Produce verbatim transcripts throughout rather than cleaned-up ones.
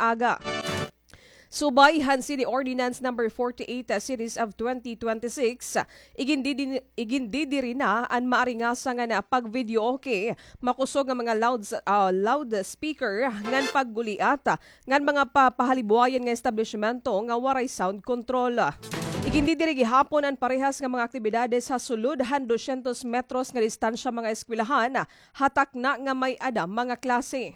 aga. Subay han City Ordinance Number forty-eight, ah, Series of twenty twenty-six, ah, igindidi-, igindidiri na an maaringasa nga na pag-videoke, makusog nga mga louds-, ah, loudspeaker, ngan pagguliat, ah, ngan mga pa-, pahalibwayan nga establishmento nga waray sound control. Igindidiri gihapon an parehas nga mga aktibidades ha sulod han dosyentos metros nga distansya mga eskwelahan, ha takna nga may-ada mga klase.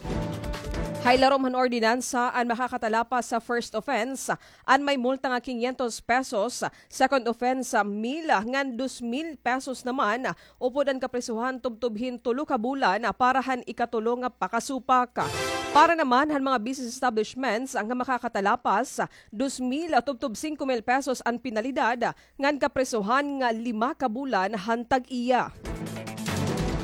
Ha ilarom han ordinansa, an makakatalapas sa first offense, an may multa nga kinyentos pesos, second offense, mil, ngan dos mil pesos naman, upod an kaprisohan tubtob hin tulo ka bulan para han ikatulo nga pakasupak. Para naman han mga business establishments nga makakatalapas, dos mil tubtob singko mil pesos an penalidad, ngan kaprisohan nga lima ka bulan han tag-iya.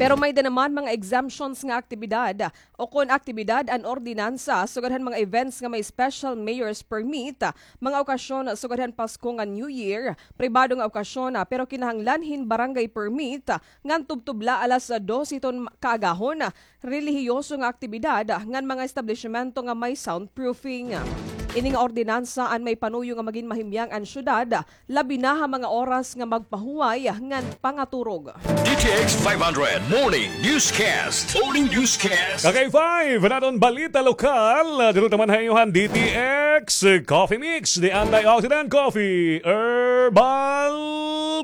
Pero may-ada naman mga exemptions nga aktibidad o kon aktibidad an ordinansa sugad han mga events nga may special mayor's permit, mga okasyon sugad han Pasko ngan New Year, pribado nga okasyon, pero kinahanglan hin barangay permit, ngan tubtob la alas dose hiton kaagahon, relihiyoso nga aktibidad, ngan mga establishmento nga may soundproofing. Ini nga ordinansa an may panuyo nga magin mahimyang an syudad, labi na ha mga oras nga magpahuway ngan pangaturog. D T X five hundred Morning Newscast. Morning Newscast. Ka K five, an aton balita lokal. Didto naman ha iyo han D T X Coffee Mix, the antioxidant coffee, herbal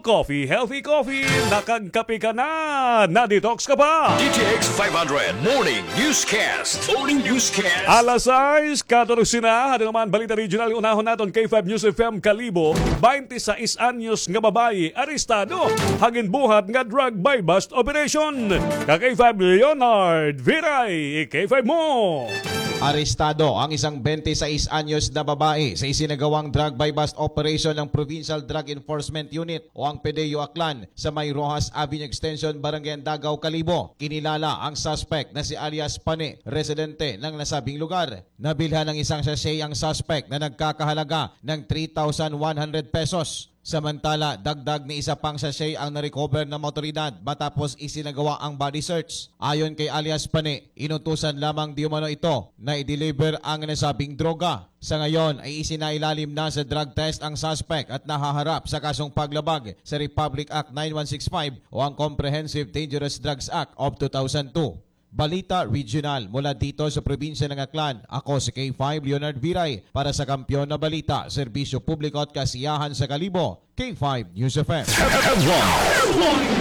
coffee, healthy coffee. Nakagkape ka na, na-detox ka pa. D T X five hundred Morning Newscast. Morning Newscast. Alas sais katorse na, aton naman balita regional, unahon naton K five News F M Kalibo, baynte sais anyos nga babaye arestado ha ginbuhat nga drug buy-bust operation. Ka K five Leonard Viray, K five mo. Arestado ang isang baynte sais anyos na babae sa isinagawang drug buy-bust operation ng Provincial Drug Enforcement Unit o ang PDEU Aklan sa may Roxas Avenue Extension, Barangay Andagaw, Kalibo. Kinilala ang suspect na si alias Pane, residente ng nasabing lugar. Nabilhan ng isang sachet ang suspect na nagkakahalaga ng three thousand one hundred pesos. Samantala, dagdag ni isa pang sachet ang na-recover ng mga otoridad matapos isinagawa ang body search. Ayon kay alias Pane, inutusan lamang di umano ito na i-deliver ang nasabing droga. Sa ngayon ay isinailalim na sa drug test ang suspect at nahaharap sa kasong paglabag sa Republic Act nine one six five o ang Comprehensive Dangerous Drugs Act of two thousand two. Balita Regional mula dito sa probinsya ng Aklan. Ako si K five Leonard Viray para sa Kampiyon na Balita, Serbisyo Publiko at Kasiyahan sa Kalibo, K five News F M.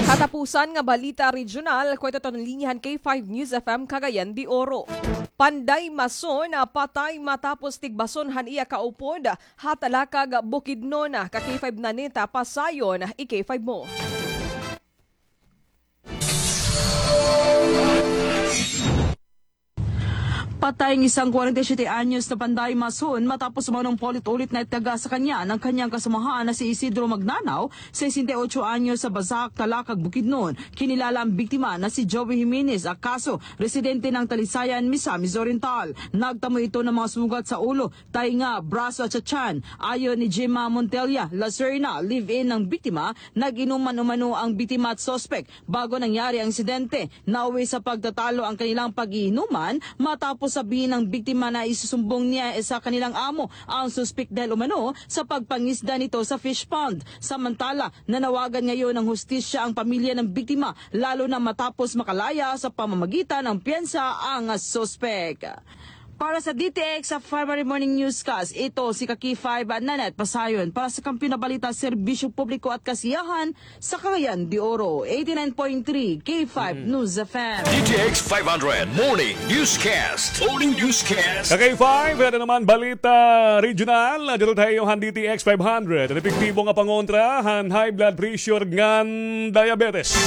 Katapusan nga balita regional, kwento ton linya han K five News F M Cagayan de Oro. Panday mason, ah, patay matapos tigbason han iya kaupod ha Talakag, Bukidnon. Ka K five Nanita, pasayon, i-K five mo. Patay ang isang kwarenta y siyete anyos na panday mason matapos umanong paulit-ulit na ityaga sa kanya ng kanyang kasamahan na si Isidro Magnanaw, sesenta y otso anyos, sa Basak, Talakag, Bukidnon. Kinilala ang biktima na si Joey Jimenez Acaso, residente ng Talisayan, Misamis Oriental. Nagtamo ito ng mga sugat sa ulo, tainga, braso at sa tiyan. Ayon ni Gemma Montella Lacerna, live-in ng biktima, nag-inuman umano ang biktima at suspek bago nangyari ang insidente. Nauwi sa pagtatalo ang kanilang pag-iinuman matapos sabihin ng biktima na isusumbong niya sa kanilang amo ang suspek dahil umano sa pagpangisda nito sa fish pond. Samantala, nanawagan ngayon ng hustisya ang pamilya ng biktima, lalo na matapos makalaya sa pamamagitan ng piyansa ang suspek. Para sa D T X sa February Morning Newscast, ito si Kaki five Nanette Pasayon. Para sa Kampiyon na Balita, Serbisyo Publiko at Kasiyahan sa Cagayan de Oro, eighty-nine point three K five News F M. D T X five hundred Morning Newscast. Morning Newscast. Ka K five, ito naman balita regional. Dito tayo han D T X five hundred. An epektibo nga pangontra han high blood pressure ngan diabetes.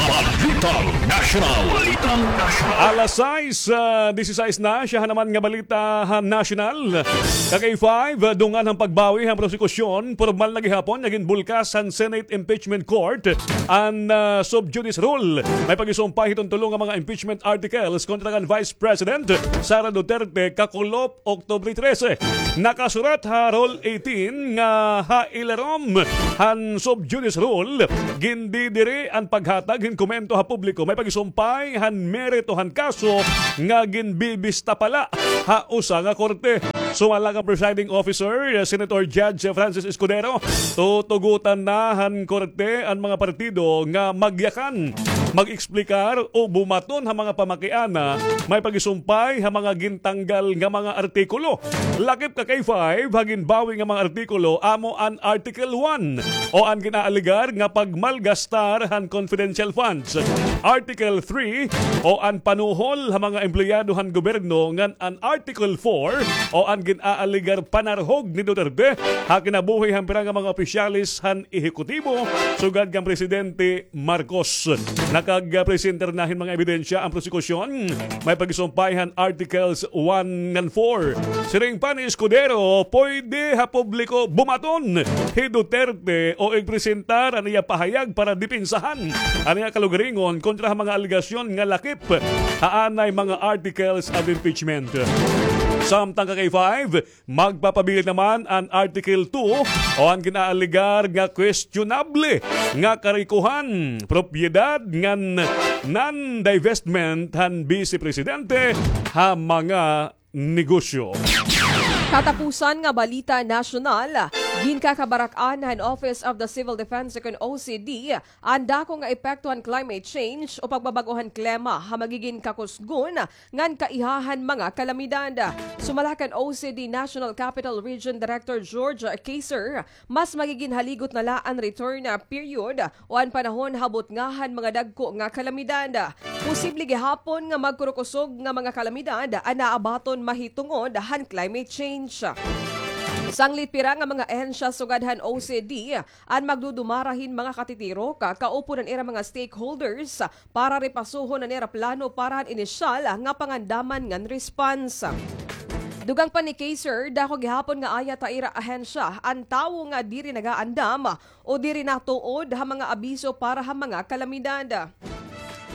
Balitang National. Balitang National. Alas sais, ah, disisais na, siya naman nga balita han national. Ka K five, ah, dungan han pagbawi han prosekusyon, pormal na gihapon nga ginbulkas han Senate Impeachment Court an, ah, sub judice rule. May pagisumpay hiton tulo nga mga impeachment articles kontra kan Vice President Sara Duterte kakulop Oktubre trese. Nakasurat ha Rule eighteen nga ha ilarom han sub judice rule, gindidiri an paghatag hin komento ha publiko may pagisumpay han merito han kaso nga ginbibista pa la ha usa nga korte. Sumala kan presiding officer, Senator Judge Francis Escudero, tutugotan na han korte an mga partido nga magyakan, mag-eksplikar o bumaton ha mga pamakiana may pag-isumpay ha mga gintanggal nga mga artikulo. Lakip ka K five, ha ginbawi nga mga artikulo, amo an Article one o an ginaalegar nga pagmalgastar han confidential funds. Article three o an panuhol ha mga empleyado han gobyerno ngan an Article four o an ginaalegar panarhog ni Duterte ha kinabuhi han pira nga mga opisyales han ehekutibo sugad kan Presidente Marcos. Nakagpresentar na hin mga ebidensya an prosekusyon may pag-isumpay han Articles one ngan four. Siring pa ni Escudero, pwede ha publiko bumaton hi Duterte o igpresentar an iya pahayag para depensahan an iya kalugaringon kontra ha mga alegasyon nga lakip ha anay mga articles of impeachment. Samtang ka K five, magpapabilin naman an Article two o an ginaalegar nga questionable nga karikohan, propiedad ngan non-divestment han Bise Presidente ha mga negosyo. Katapusan nga balita nasyonal, ginkakabarak-an han Office of the Civil Defense o kon O C D an dako nga epekto han climate change o pagbabag-o han klima ha magigin kakusgon ngan kaiha han mga kalamidad. Sumala kan O C D National Capital Region Director George Kaser, mas magigin haligot na la an return period o an panahon ha butnga han mga dagko nga kalamidad. Posible gihapon nga magkurukusog nga mga kalamidad an naabaton mahitungod han climate change. Sanglit pira nga mga ahensya sugad han O C D an magdudumara hin mga katitirok, kaupo an ira mga stakeholders para ripasuhon an ira plano para han inisyal nga pangandaman ngan response. Dugang pa ni Kaser, dako gihapon nga ayat ha ira ahensya an tawo nga diri nagaandam o diri natuod ha mga abiso para ha mga kalamidad.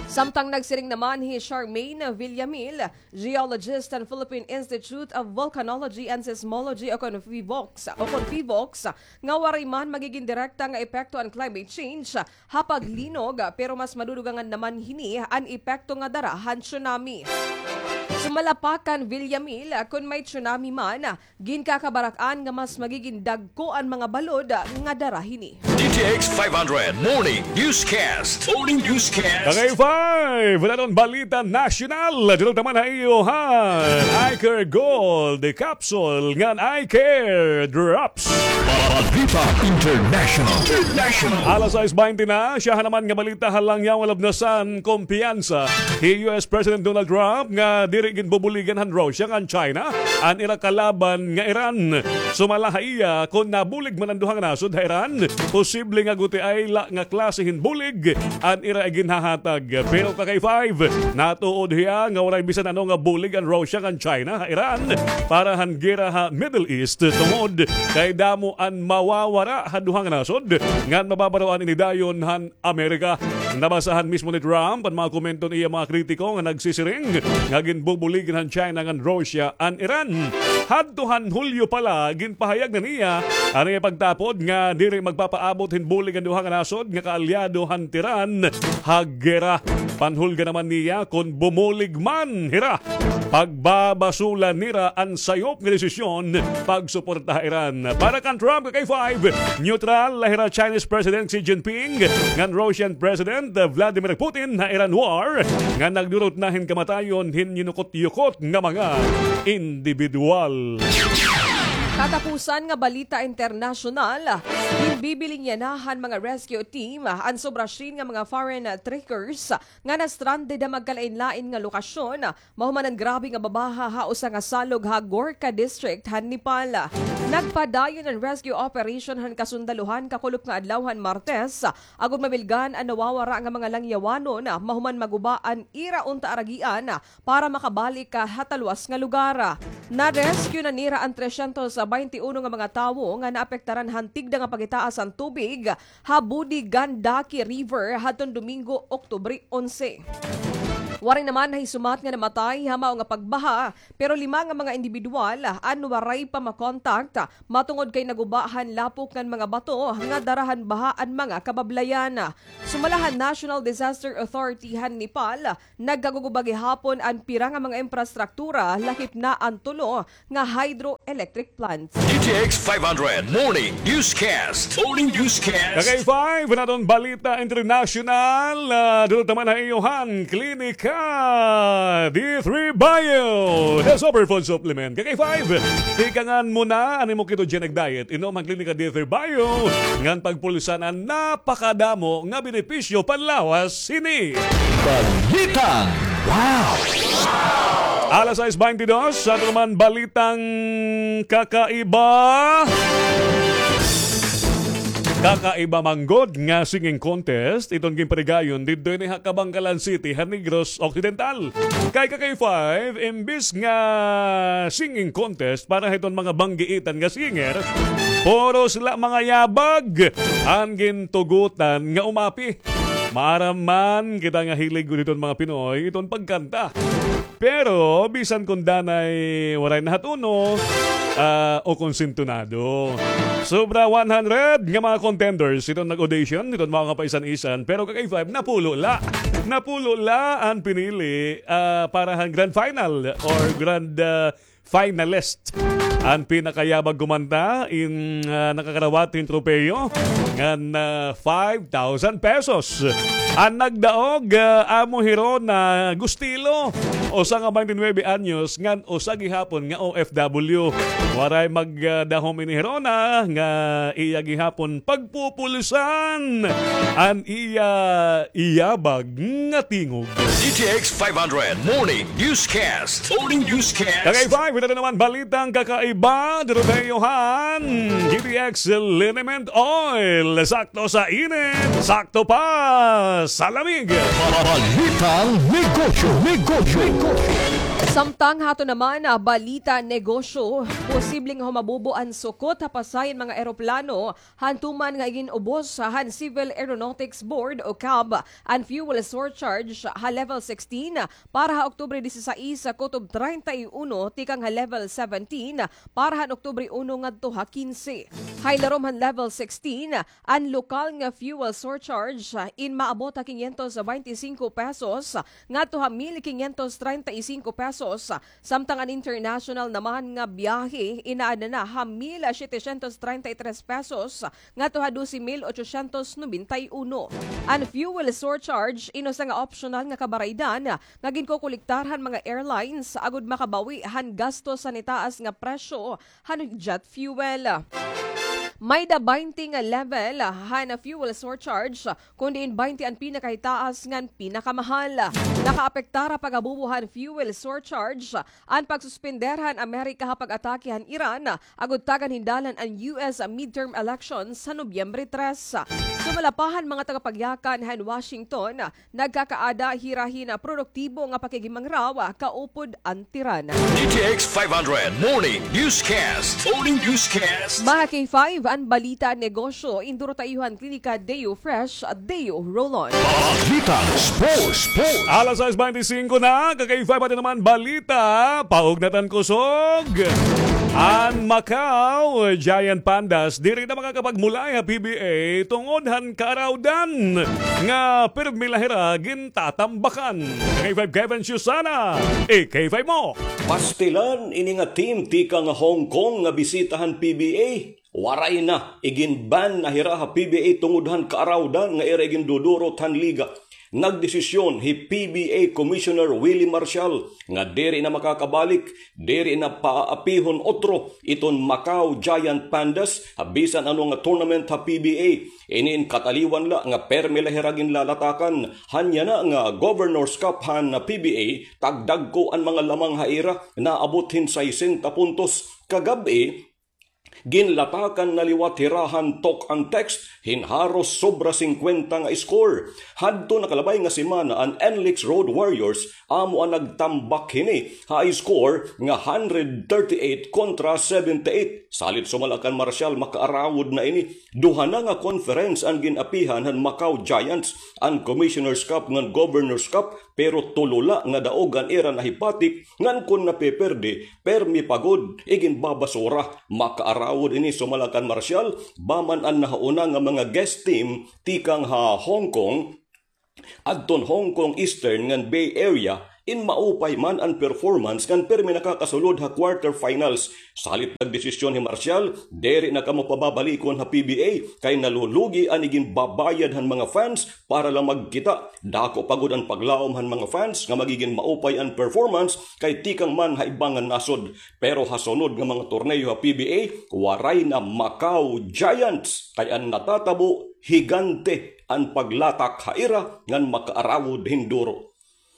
Samtang nagsiring naman hi Charmaine Villamil, geologist han Philippine Institute of Volcanology and Seismology o kon PHIVOLCS, o kon PHIVOLCS, nga waray man magigin direkta nga epekto an climate change ha paglinog, pero mas madudugangan naman hini an epekto nga dara han tsunami. Sumala pa kan Villamil, kon may tsunami man, ginkakabarak-an nga mas magigin dagko an mga balod nga dara hini. D T X five hundred Morning Newscast. Morning Newscast. Kagay five, wala ron balita nasyonal. Dito naman ha iyo han Eye Care Gold Capsule ngan Eye Care Drops. Balita International. International. Alas sais baynte na, siya ha naman nga balita ha Langyaw nga Lubnasan, kumpiyansa hi U S President Donald Trump nga diri ginbubuligan han Russia ngan China an ira kalaban nga Iran. Sumala ha iya, kon nabulig man an duha nga nasod ha Iran, posible nga gutiay la nga klase hin bulig an ira iginhahatag. Pero ka K five, natuod hiya nga waray bisan ano nga bulig an Russia ngan China ha Iran para han gera ha Middle East, tungod kay damo an mawawara ha duha nga nasod ngan mababaroan ini dayon han Amerika. Nabasahan mismo ni Trump an mga komento han iya mga kritiko nga nagsisiring nga ginbubuligan han China ngan Russia an Iran. Hadto han Hulyo pa la, ginpahayag na niya an iya pagtapod nga diri magpapaabot hin bulig an duha nga nasod nga kaalyado han Tehran ha gera. Panhulga naman niya kon bumulig man hira, pagbabasula nira an sayop nga desisyon pagsuporta ha Iran. Para kan Trump, ka K five, neutral la hira Chinese President Xi Jinping ngan Russian President Vladimir Putin ha Iran war nga nagdurot na hin kamatayon hin yinukot-yukot nga mga indibidwal. Katapusan nga balita internasyonal, ginbibiling yana han mga rescue team an sobra syen nga mga foreign trekkers nga na-stranded ha magkalain-lain nga lokasyon mahuman an grabe nga babaha ha usa nga salog ha Gorkha District han Nepal. Nagpadayon an rescue operation han kasundaluhan kakulop nga adlaw han Martes, agod mabilgan an nawawara nga mga langyawanon mahuman maguba an ira unta aragian para makabalik ha talwas nga lugar. Na-rescue na nira an tresyentos baynte uno nga mga tawo nga naapektaran han tigda nga pagitaas han tubig ha Budi Gandaki River hadton Domingo, Oktubre onse. Waray naman nahisumat nga namatay ha mao nga pagbaha, pero lima nga mga indibidwal an waray pa makontak matungod kay naguba han lapok ngan mga bato nga dara han baha an mga kabablayan. Sumala han National Disaster Authority han Nepal, nagkaguguba gihapon an pira nga mga imprastruktura, lakip na an tulo nga hydroelectric plants. D T X five hundred Morning Newscast. Morning Newscast. Kakay five, naton balita international, ah, dito naman ha iyo han Klinika D three Bio, the superfood supplement. Kakay five, tikangan mo na an imo ketogenic diet. Inom an Klinika D three Bio ngan pagpulusan an napakadamo nga benepisyo panlawas hini. Balitang Wow! Alas sais baynte dos, sa aton naman balitang kakaiba. Kakaiba man gud nga singing contest iton ginparigayon didto ini ha Kabankalan City, ha Negros Occidental. Kay Kakay five, imbis nga singing contest para hiton mga banggiitan nga singer, puros la mga yabag an gintugutan nga umapi. Maaram man kita nga hilig gud hiton mga Pinoy iton pagkanta. Pero bisan kon danay waray nahatuno, ah, o kon sintonado. Sobra one hundred nga mga contenders iton nag-audition, iton mga kapaisan-isan. Pero Kakay five, napulo la. Napulo la an pinili, ah, para han grand final or grand, ah, finalist. An pinakayabag kumanta in, ah, nakakarawat hin tropeyo ngan, ah, five thousand pesos. An nagdaog, ah, amo hi Rona Gustilo, usa nga baynte nuwebe anyos ngan usa gihapon nga O F W. Waray magdahom ini hi Rona nga iya gihapon pagpupulusan an iya iyabag nga tingog. D T X five hundred Morning Newscast. Morning Newscast. Kakay five, ito naman balitang kakaiba. Dito tayo han D T X Liniment Oil. Sakto sa init, sakto pa sa lamig. Balitang negosyo, negosyo, negosyo. Samtang hato naman, ah, balita negosyo, posible nga humabubo an sukot ha pasayan mga eroplano hantuman nga igin-ubos han Civil Aeronautics Board o cab an fuel surcharge ha level sixteen para ha Oktubre disisais kutob treinta y uno tikang ha level seventeen para han Oktubre uno ngadto ha quince. Ha ilarom han level sixteen, an lokal nga fuel surcharge in maabot ha quinientos veinticinco pesos ngadto ha mil quinientos treinta y cinco pesos. Samtang an international naman nga biyahe, inaada na ha mil setecientos treinta y tres pesos ngadto ha doce mil ochocientos noventa y uno. An fuel surcharge in usa nga optional nga kabaraydan nga ginkokolektar han mga airlines agod makabawi han gastos han itaas nga presyo han jet fuel. Mayda baynte nga level han fuel surcharge, kon diin baynte an pinakahitaas ngan pinakamahal. Nakaapektar ha paghabubo han fuel surcharge an pagsuspender han Amerika ha pag-atake han Iran, agod tagan hin dalan an U S midterm elections ha Nobyembre tres. Sumala pa han mga tagapagyakan han Washington, nagkakaada hira hin produktibo nga pakighimangraw kaupod an Tehran. D T X five hundred Morning Newscast. Morning Newscast. Mga K five, an balita negosyo, induro ta iyo han Klinika Deo Fresh, Deo Roll-On. Balitang sports, sports. Alas sais baynte singko na, ka-K five, aton naman balita, paugnatan kusog. An Macau Giant Pandas diri na makakapagmulay ha P B A tungod han kaarawdan nga pirmi la hira gintatambakan. K five Kevin Susana, i-K five mo. Pastilan ini nga team tikang Hong Kong nga bisita han P B A. Waray na, igin-ban na hira ha P B A tungod han kaarawdan nga ira igindudurot han liga. Nagdesisyon hi P B A Commissioner Willie Marcial nga diri na makakabalik, diri na paaapihon utro iton Macau Giant Pandas ha bisan ano nga tournament ha P B A. Ini in kataliwan la nga permi la hira ginlalatakan han yana nga Governor's Cup han P B A, tagdagko an mga lamang ha ira, naabot hin sesenta puntos. Kagab-i, Ginlatakan na liwat hira han talk and text hin haros sobra singkwenta nga score. Hadto nakalabay nga semana, an N-Leagues Road Warriors amo an nagtambak hini ha score nga hundred thirty-eight kontra seventy-eight. Salit sumala kan Marshall, makaarawod na ini. Duha na nga conference an gin-apihan han Macau Giants, an Commissioner's Cup ngan Governor's Cup, pero tulo la nga daog an ira nahipatik, ngan kon napiperde, permi pa gud iginbabasura. Makaarawod ini sumala kan Marshall, ba man an nahauna nga mga guest team tikang ha Hong Kong, adton Hong Kong Eastern ngan Bay Area, in maupay man an performance ngan permi nakakasulod ha quarterfinals. Salit nagdesisyon hi Marshall, diri na kamo pababalikon ha P B A, kay nalulugi an iginbabayad han mga fans para lang magkita. Dako pa gud an paglaom han mga fans nga magigin maupay an performance kay tikang man ha iba nga nasod. Pero ha sunod nga mga torneo ha P B A, waray na Macau Giants, kay an natatabo, higante an paglatak ha ira ngan makaarawod hin duro.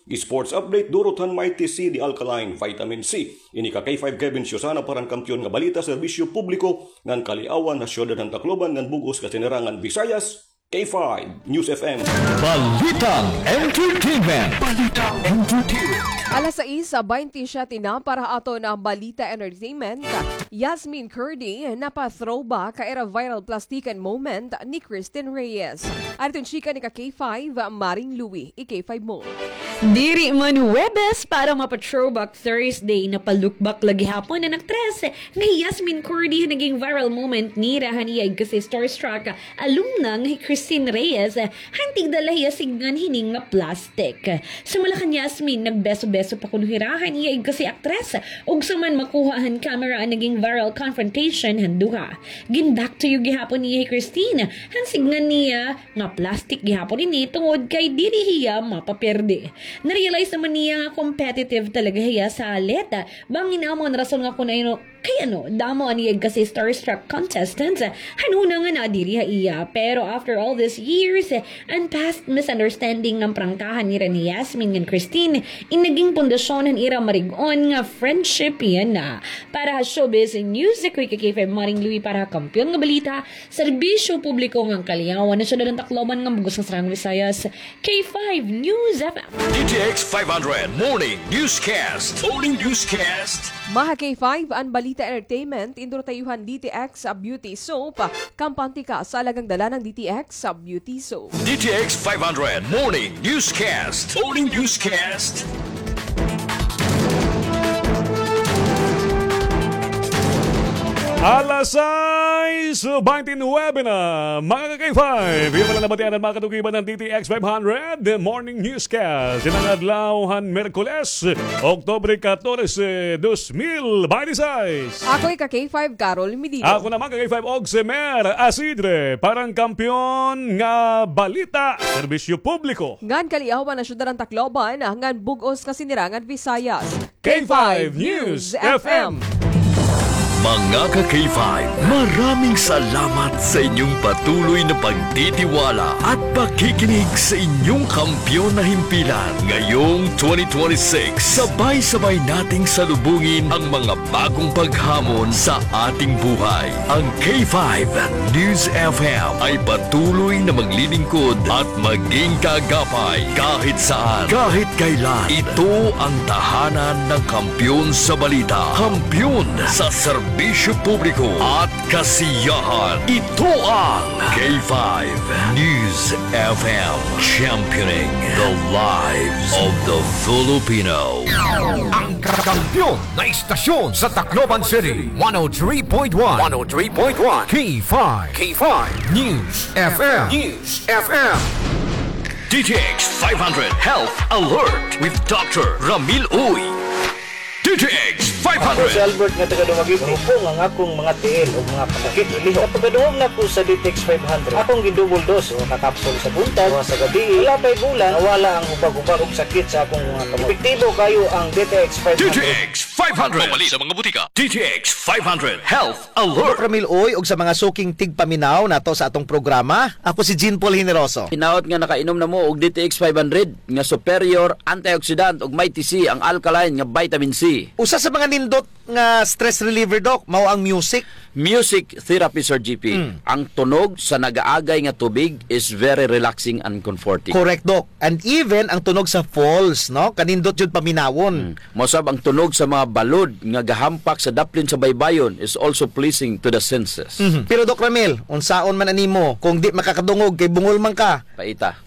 Sports update, durot han Mighty C, The Alkaline Vitamin C. Ini ka K five Kevin Siusana para han Kampiyon nga Balita, Serbisyo Publiko ngan Kaliawan ha Syudad han Tacloban ngan bug-os ka sinirangan Visayas, K five News F M. Balitang Entertainment. Balitang Entertainment. Alas sais baynte siyete na para ha aton nga Balita Entertainment. Yasmin Curdy napa-throwback ha ira viral plastikan moment ni Christine Reyes. Adton chika ni ka K five, Maring Louie, i-K five mo. Diri man Huwebes para mapa-throwback Thursday, napalukbak la gihapon an aktres nga hi Yasmin Curdy ha naging viral moment nira han iya igkasi-starstruck alumna nga hi Christine Reyes, han tigda la hiya sidngan hini nga plastic. Sumala kan Yasmin, nagbeso-beso pa kuno hira han iya igkasi-aktres, ugsa man makuha han camera an naging viral confrontation han duha. Gin-back to you gihapon niya hi Christine han sidngan niya nga plastic gihapon ini tungod kay diri hiya mapaperde. Na-realize naman niya nga competitive talaga hiya sa atleta. Bangin amo an rason nga kon ano, kay ano, damo an iya igkasi-starstruck contestants han una nga nadiri ha iya. Pero after all these years, an past misunderstanding nga prangkahan nira ni Yasmin ngan Christine, in naging pundasyon han ira marig-on nga friendship yana. Para ha showbiz news, ako hi ka K five Maring Louie para ha Kampiyon nga Balita, Serbisyo Publiko ngan Kaliawan ha Syudad han Tacloban ngan bug-os nga sinirangan Visayas, K five News F M. D T X five hundred Morning Newscast. Morning Newscast. Mga K five, an Balita Entertainment, in duro ha iyo han D T X Beauty Soap. Kampante ka sa alagang dala ng D T X Beauty Soap. D T X five hundred Morning Newscast. Morning Newscast. Alas sais baynte nuwebe na, mga ka-K five. Iyo pala nabatian an mga katukiban ng D T X five hundred Morning Newscast. Ini nga adlaw han Miyerkules, Oktubre katorse, dos mil baynte sais. Ako hi ka-K five, Carol Medina. Ako naman ka-K five, Ogsemer Asidre, para han Kampiyon nga Balita, Serbisyo Publiko ngan Kaliawan ha Syudad han Tacloban ngan bug-os ka sinirangan Visayas, K five News F M. Mga ka-K five, maraming salamat sa inyong patuloy na pagtitiwala at pakikinig sa inyong kampiyon na himpilan. Ngayong twenty twenty-six, sabay-sabay nating salubungin ang mga bagong paghamon sa ating buhay. Ang K five News F M ay patuloy na maglilingkod at maging kaagapay kahit saan, kahit kailan. Ito ang tahanan ng kampiyon sa balita, kampiyon sa serbisyo publiko at kasiyahan. Ito ang K five News F M, championing the lives of the Filipino. Ang kampiyon na istasyon sa Tacloban City, one oh three point one. One oh three point one. K five. K five News F M. News F M. D T X five hundred Health Alert with Doctor Ramil Uy. D T X five hundred. Ako si Albert nga taga Dumaguete. Mahubong ang akong mga tiil ug mga panakit, lihok. Sa pagkadungog nako sa D T X five hundred, akong gi-double dose, duha ka kapsul sa buntag, duha sa gabii. Wala pa'y bulan, nawala ang hubag-hubag ug sakit sa akong mga kamot. Epektibo kaayo ang D T X five hundred. D T X five hundred. Mapalit sa mga butika. D T X five hundred Health Alert. Doc Ramil Uy, ug sa mga suking tigpaminaw nato sa atong programa, ako si Jean Paul Generoso. Hinaot nga nakainom na mo og D T X five hundred nga superior antioxidant ug may T C ang alkaline nga vitamin C. Usa sa mga nindot nga stress reliever, Doc, mao ang music. Music therapy, Sir G P. Mm. Ang tunog sa nagaagay nga tubig is very relaxing and comforting. Correct, Doc. And even ang tunog sa falls, no? Kanindot jud paminawon. Mm. Mausab ang tunog sa mga balod nga gahampak sa daplin sa baybayon is also pleasing to the senses. Mhm. Pero, Doc Ramil, unsaon man animo kung di makakadungog kay bungol man ka? Paita.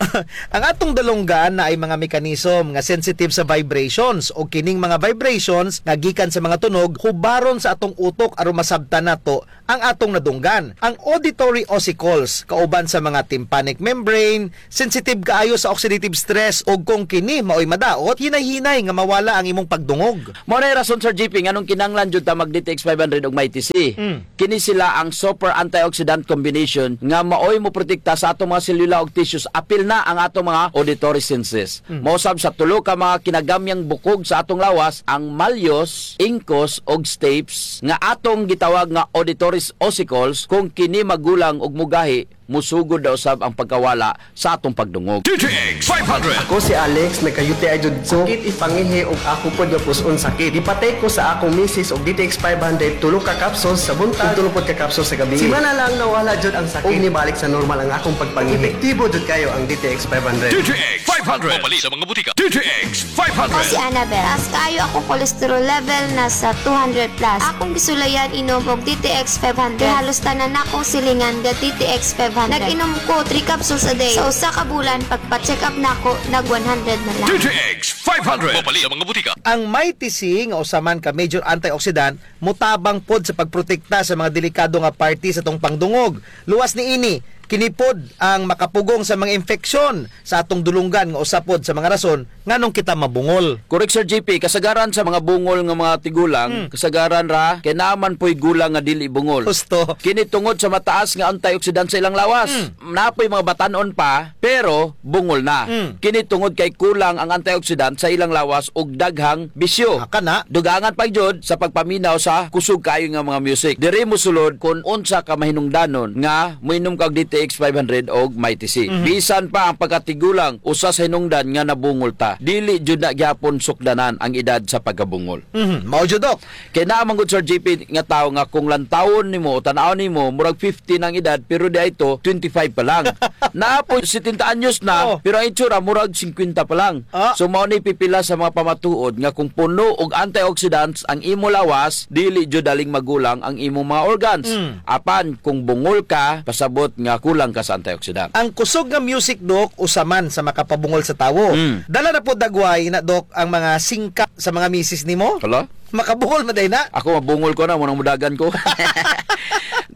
Ang atong dulonggan naay mga mechanism nga sensitive sa vibrations, o kining mga vibrations nga gikan sa mga tunog hubaron sa atong utok aron masabtan nato ang atong nadunggan. Ang auditory ossicles, kauban sa mga tympanic membrane, sensitive kaayo sa oxidative stress, ug kung kini maoy madaot, hinay-hinay nga mawala ang imong pagdungog. Mao nay rason, Sir G P, nganong kinahanglan jud ta mag D T X five hundred ug Mighty C. Mm. Kini sila ang super antioxidant combination nga maoy moprotekta sa atong mga selula ug tissues, apil na ang atong mga auditory senses. Mm. Mausab sa tulo ka mga kinagamyang bukog sa atong lawas, ang malleus, incus, ug stapes, nga atong gitawag nga auditory ossicles, kung kini magulang ug mugahi, musugod na usab ang pagkawala sa atong pagdungog. D T X five hundred. Ako si Alex, nagka-U T I jud ko. Sakit ipangihi ug ako pod nga pus-on sakit. Gipatake ko sa akong misis og D T X five hundred, tulo ka capsules sa buntag, ug tulo pod ka capsules sa gabii. Semana lang nawala jud ang sakit. Ug nibalik sa normal ang akong pagpangihi. Epektibo jud kayo ang D T X five hundred. D T X five hundred. Mapalit sa mga butika. D T X five hundred. Ako si Annabel. Taas kaayo akong cholesterol level, nasa two hundred plus. Akong gisulayan inom og D T X five hundred. Kay halos tanan nakong silingan ga D T X five hundred. Nag-inom ko three capsules a day. Sa usa ka bulan, pagpa-check up nako, nag one hundred na lang. D T X five hundred. Mapalit sa mga butika. Ang Mighty C nga usa man ka major antioxidant, motabang pod sa pagprotekta sa mga delikado nga parte sa atong pangdungog. Luwas niini, kini pod ang makapugong sa mga infeksyon sa atong dulonggan nga usa pod sa mga rason nganong kita mabungol. Correct, Sir G P. Kasagaran sa mga bungol nga mga tigulang, hmm, kasagaran ra kay naa man po'y gulang nga dili bungol. Husto. Kini tungod sa mataas nga antioxidant sa ilang lawas. Hmm. Naa po'y mga batan-on pa, pero bungol na. Hmm. Kini tungod kay kulang ang antioxidant sa ilang lawas ug daghang bisyo. Ah, kana. Dugangan pa jud sa pagpaminaw sa kusog kaayo nga mga music. Diri mosulod kun unsa ka mahinungdanon nga moinom ka og D T X five hundred og Mighty C. Mhm. Bisan pa ang pagkatigulang, usa sa hinungdan nga nabungol ta. Dili jud na gihapon sukdanan ang edad sa pagkabungol. Mhm. Mao jud, Doc. Kay naa man gud, Sir G P, nga tawo nga kung lantawon nimo o tan-awon nimo, murag fifty na ang edad, pero diay to, twenty-five pa lang. Naa pod setenta anyos na, oh, pero ang itsura, murag singkwenta pa lang. Ah. So, mao ni pipila sa mga pamatuod nga kung puno og antioxidants ang imo lawas, dili jud daling magulang ang imong mga organs. Mm. Apan, kung bungol ka, pasabot nga kulang ka sa antioxidant. Ang kusog nga music, Doc, usa man sa makapabungol sa tawo. Mm. Dala na pod dagway na, Doc, ang mga singka sa mga misis nimo? Hala? Makabungol man diay na. Ako, mabungol ko na, mao nang mudagan ko.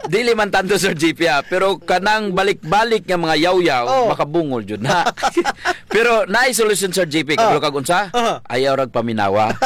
Dili man tanto, Sir G P, ha, pero kanang balik-balik nga mga yawyaw, oh, makabungol jud na. Pero naay solusyon, Sir G P, oh, kabalo kag unsa? Uh-huh. Ayaw rag paminawa.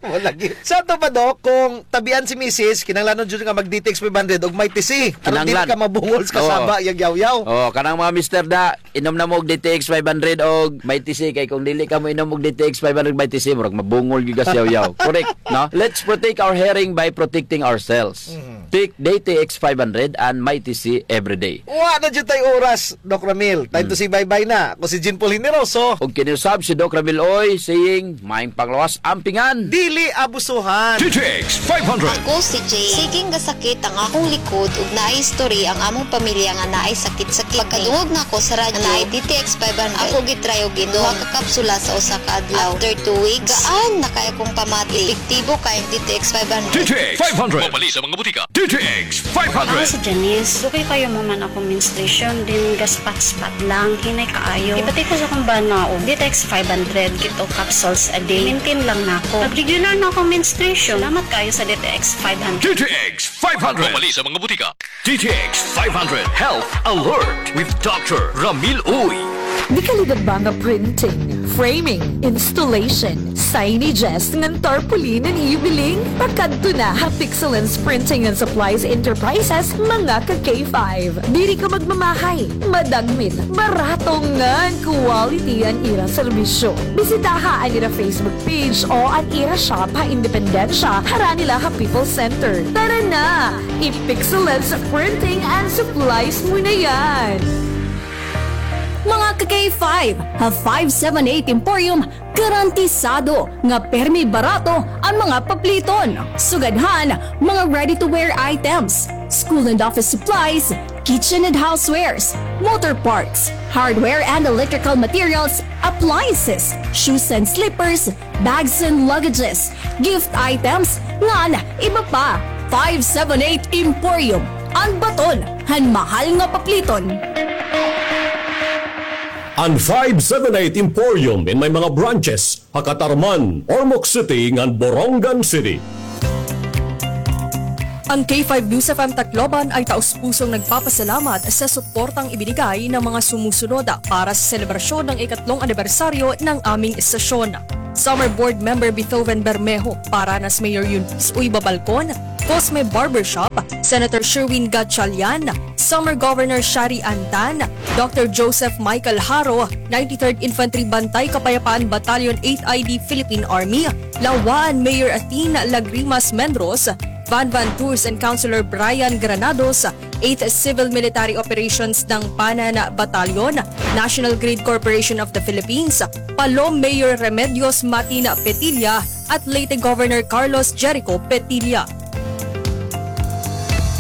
Wala lagi. Sa ato pa, Doc, kung tabian si misis, kinahanglanon jud nga mag-D T X five hundred og Mighty C. Aron dili ka mabungol sa kasaba, yag yawyaw. Oo, kanang mga mister da, inom na mo og D T X five hundred og Mighty C, kay kung dili ka moinom og D T X five hundred Mighty C, murag mabungol gyud ka sa yawyaw. Correct, no? Let's protect our hearing by protecting ourselves. Mhm. Take D T X five hundred and Mighty C every day. Wa na jud tay oras, Doc Ramil. Time to say bye-bye na. Ako si Jean Paul Generoso. Ug kini usab si Doc Ramil Uy, saying, maayong panglawas, ampingan. Dili abusuhan. D T X five hundred. Ako si Jay. Sige nga sakit ang akong likod ug naay history ang among pamilya nga naay sakit-sakit. Pagkadungog nako sa radyo nga naay D T X five hundred, ako gitry og inom duha ka kapsula sa usa ka adlaw. After two weeks, gaan na kaayo akong pamati. Epektibo kaayo ang D T X five hundred. D T X five hundred. Mapalit sa mga butika. D T X five hundred. Ako si Janice. Dugay kaayo mahuman akong menstruation, then gaspat-spat lang, hinay kaayo. Ipatake ko sa akong bana og D T X five hundred, two capsules a day. Maintain lang nako. Nag-regular na akong menstruation. Salamat kaayo sa D T X five hundred. D T X five hundred. Mapalit sa mga butika. D T X five hundred Health Alert with Doctor Ramil Uy. Di ka ligad ba nga printing, framing, installation, signages ngan tarpaulin an iyo biling? Pakadto na ha Pixelens Printing and Supplies Enterprises, mga ka-K five. Diri ka magmamahay, madagmit, barato ngan quality an ira serbisyo. Bisitaha an ira Facebook page o an ira shop ha Independencia, harani la ha People's Center. Tara na! I-Pixelens Printing and Supplies mo na yan! Mga ka-K five, ha five seven eight Emporium, garantisado nga permi barato an mga papliton. Sugad han mga ready-to-wear items, school and office supplies, kitchen and housewares, motor parts, hardware and electrical materials, appliances, shoes and slippers, bags and luggages, gift items, ngan iba pa. Five seven eight Emporium, an baton han mahal nga papliton. An five seven eight Emporium in may mga branches ha Catarman, Ormoc City, ngan Borongan City. Ang K five News F M Tacloban ay taus-pusong nagpapasalamat sa suportang ibinigay ng mga sumusunod para sa selebrasyon ng ikatlong anibersaryo ng aming estasyon. Summer Board Member Beethoven Bermejo, Paranas Mayor Eunice Uy Babalcon, Cosme Barbershop, Senator Sherwin Gatchalian, Summer Governor Shari Ann Tan, Doctor Joseph Michael Haro, ninety-third Infantry Bantay Kapayapaan Battalion eight I D Philippine Army, Laua-an Mayor Athene Lagrimas Mendros, Van Van Tours and Councilor Brian Granados, eighth Civil Military Operations Dangpanan Battalion, National Grid Corporation of the Philippines, Palom Mayor Remedios Matin Petilla, at Leyte Governor Carlos Jericho Petilla.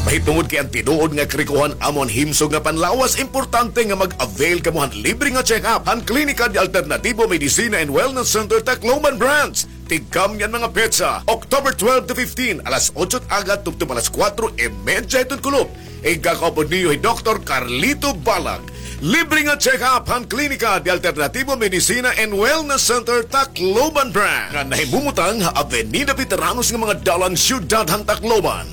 Mahitungod kay an tinuod nga karikohan amo an himsog nga panlawas, importante nga mag-avail kamo han libre nga check-up han Klinika de Alternativo Medicina and Wellness Center Tacloban Branch. Tigkamni an mga petsa, October twelve to fifteen, alas otso it aga tubtob alas kuwatro y medya hiton kulop. Igkakaupod niyo hi Doktor Carlito Balag. Libre nga check-up han Klinika de Alternativo Medicina and Wellness Center Tacloban Branch, nga nahimumutang ha Avenida Veteranos nga mga dalan, siyudad han Tacloban.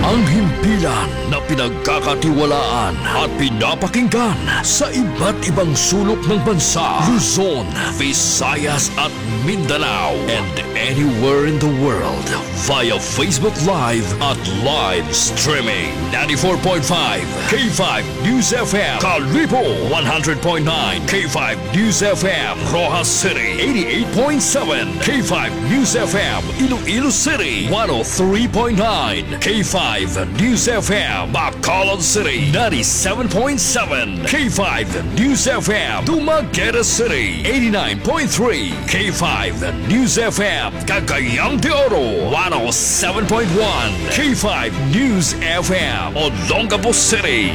Ang himpilan na pinagkakatiwalaan at pinapakinggan sa iba't ibang sulok ng bansa, Luzon, Visayas at Mindanao, and anywhere in the world via Facebook Live at live streaming. Ninety-four point five K five News F M, Kalibo, one hundred point nine K five News F M, Roxas City, eighty-eight point seven K five News F M, Iloilo City, one oh three point nine K five News F M, Bacolod City, ninety-seven point seven K five News F M, Dumaguete City, eighty-nine point three K five News F M, Cagayan de Oro, one oh seven point one K five News F M, Olongapo City.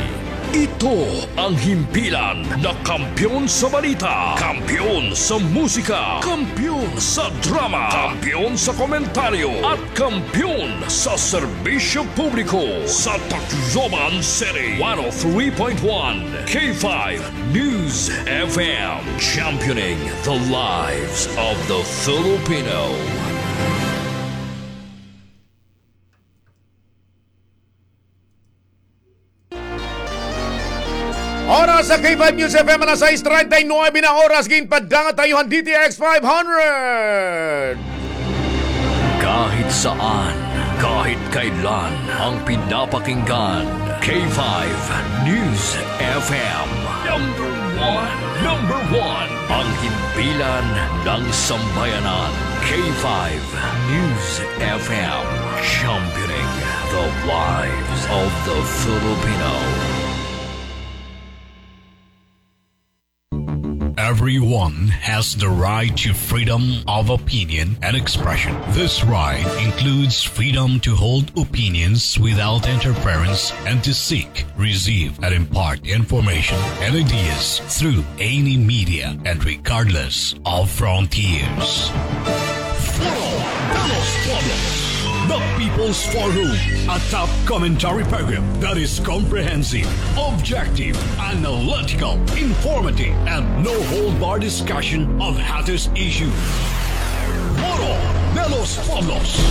Ito ang himpilan na kampiyon sa balita, kampiyon sa musika, kampiyon sa drama, kampiyon sa komentaryo, at kampiyon sa serbisyo publiko sa Tacloban City. One oh three point one K five News F M, championing the lives of the Filipino. Oras sa K five News F M, alas sais treinta y nueve na oras, ginpadangat ha iyo han D T X five hundred. Kahit saan, kahit kailan, ang pinapakinggan, K five News F M. Number one, number one, ang himpilan ng sambayanan, K five News F M, championing the lives of the Filipino. Everyone has the right to freedom of opinion and expression. This right includes freedom to hold opinions without interference and to seek, receive, and impart information and ideas through any media and regardless of frontiers. Foro de los Pueblos, the People's Forum, a top commentary program that is comprehensive, objective, analytical, informative, and no-hold-bar discussion of hottest issues. Foro de los Pueblos.